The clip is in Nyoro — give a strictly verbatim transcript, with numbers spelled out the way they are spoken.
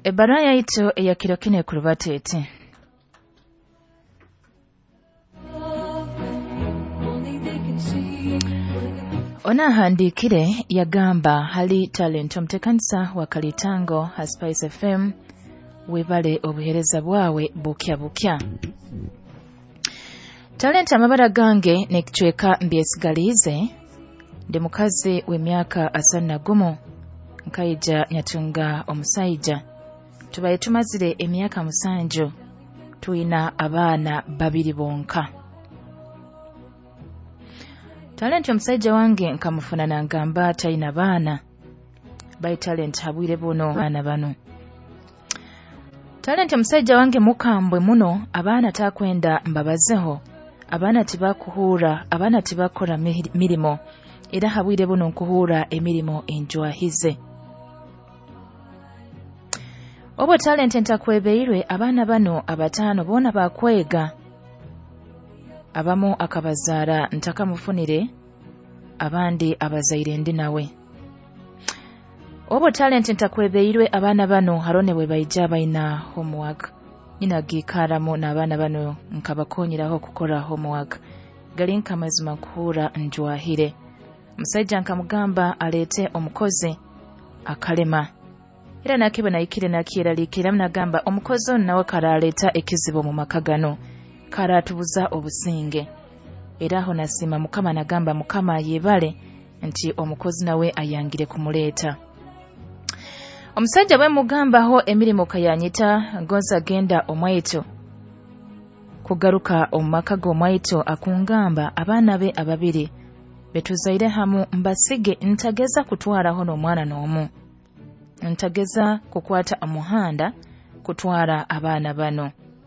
Ebbaruha yaitu eya kiro kinu ekurubata eti: Ono ahandiikire yagamba, hali Talent omuteekanisa wa Kalitango ha Spice F M, webale obuheereza bwawe bukya bukya. Talent, amabara gange n'ekicweka mbyesigaliize, ndi mukazi w'emyaka asatu na gumu, nkaija nyatunga omusaija, tubaye tumazire emyaka musanju, twina abaana babiri bonka. Talent, omusaija wange nkamufuna nangamba talina baana, bai Talent habwire buno baana bano. Talent, omusaija wange mukambwe muno, abaana takwenda mbabazeho, abaana tibakuhuura, abaana tibakora mirimo, era habwire buno nkuhuura emirimo enjwahize. Obwo Talent ntakwebeirwe, abaana bano abataano boona bakwega, abamu akabazaara ntakamufunire, abandi abazaire ndi nawe. Obwo Talent ntakwebeirwe, abaana bano harone bwe baija baina homework, nyina giikaramu n'abaana bano nkabakonyeraho kukora homework, gali nkamazima nkuhuura njwahire. Omusaija nkamugamba aleete omukozi akalema, era nakibwe nahikire nakyeraliikiriramu, nagamba omukozi onu nawe karaleeta ekizibu omu maka gano, karatubuza obusinge. Era aho nasiima Mukama, nagamba Mukama yebale nti omukozi nawe ayangire kumuleeta. Omusaija bwe mugambaho emirimo kayanyita ngonza genda omwaitu, kugaruka omu maka g'omwaitu akungamba abaana be ababiri betuzaire hamu mbasige, ntageza kutwaraho n'omwana n'omu, ntageza kukwata omuhanda kutwara abaana bano.